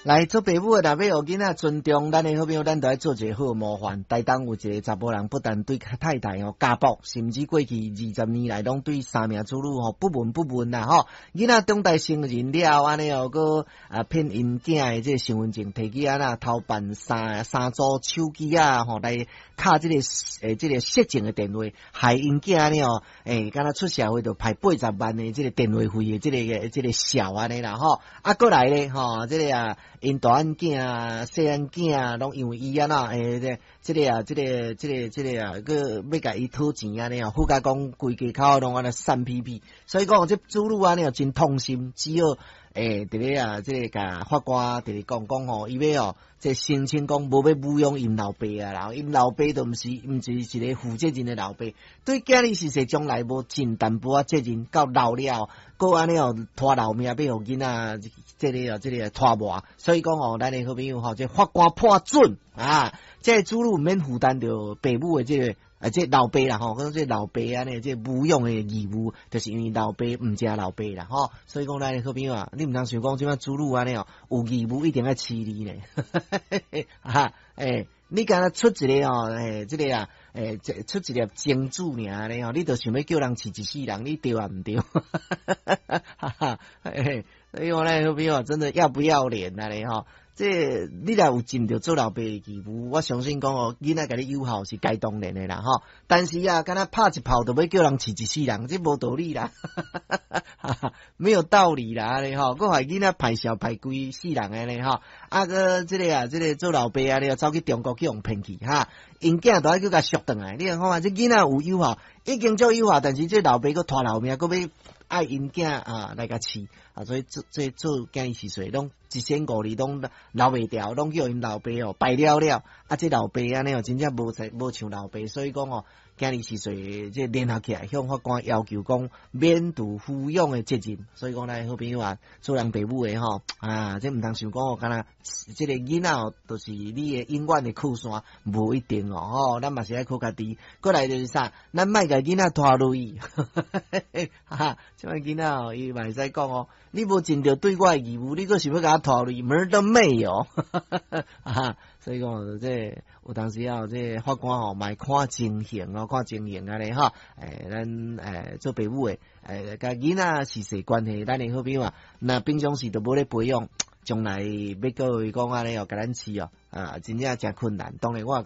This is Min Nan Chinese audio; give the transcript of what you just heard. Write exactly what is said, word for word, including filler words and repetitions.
來做爸母的，若欲予囡仔尊重咱的好朋友，咱就愛做一個好模範。台東有一個查埔人，不但對太太吼家暴，甚至過去二十年來攏對三名子女吼不聞不問啦吼。囡仔長大成人了，按呢哦，閣啊騙𪜶囝的這個身份證提去按怎偷辦三三組手機啊吼，來敲這個欸這個色情的電話，害𪜶囝按呢哦，欸，敢若出社會就歹八十萬的這個電話費的這個這個數按呢啦吼。啊，閣來咧吼，這個啊。𪜶大漢囝、細漢囝，攏因為伊按怎欸，這這個啊，這個、這個、這個啊，閣欲共伊討錢按呢哦，附加講規家口攏按呢散屁屁，所以講這子女按呢真痛心，只好欸，佇咧啊，這個共法官佇咧講講吼，伊欲哦，這聲稱講無欲撫養𪜶老爸啊，啦，𪜶老爸都毋是毋是一個負責任的老爸，對囝兒是說將來無盡淡薄仔責任，到老了，閣按呢哦拖老命欲予囡仔這個哦這個拖磨，所以講哦，咱的好朋友吼，這法官判準啊，這個子女毋免負擔著爸母的這個啊，這老爸啦吼，講這老爸按呢，這撫養的義務，就是因為老爸毋正老爸啦吼，所以講咱的好朋友啊，你毋通想講這擺子女按呢哦，有義務一定愛飼你呢，哈，欸，你敢若出一個吼，欸，這個啊，欸，這出一粒精子爾呢吼，你就想欲叫人飼一世人，你對抑毋對？哈哈，欸，所以講咱的好朋友真的要不要臉啊咧吼？這你若有盡著做老爸的義務，我相信講哦，囡仔共你友好是該當然的啦吼。但是啊，敢若拍一炮就欲叫人飼一世人，這無道理啦，沒有道理啦，按呢吼，閣害囡仔歹笑歹規世人按呢吼。啊，閣這個啊，這個做老爸啊，你走去中國去予騙去哈，𪜶囝都愛閣共贖轉來。你看看這囡仔有友好，已經足友好，但是這老爸閣拖老命，閣欲愛𪜶囝啊來共飼啊，所以做這做囝兒是說，攏一仙五二攏留袂牢，攏叫𪜶老爸哦敗了了。啊，這老爸按呢哦，真正無才無像老爸，所以講哦，今日是說這聯合起來向法官要求講免除撫養的責任。所以講咱好朋友啊，做人爸母的吼啊，這毋通想講哦，敢若這個囡仔哦，就是你的永遠的靠山，無一定哦吼。咱嘛是愛靠家己。過來就是啥，咱莫共囡仔拖累。哈，這擺囡仔哦，伊嘛會使講哦，你無盡著對我的義務，你閣想欲共我拖累，門都沒有。哈，所以講這有當時啊，這法官吼嘛會看情形哦，看情形按呢吼。欸，咱欸做爸母的，欸，共囡仔是啥關係，咱的好朋友啊，若平常時都無咧培養，將來欲閣伊講按呢哦，共咱飼哦，啊，真正誠困難。當然我也感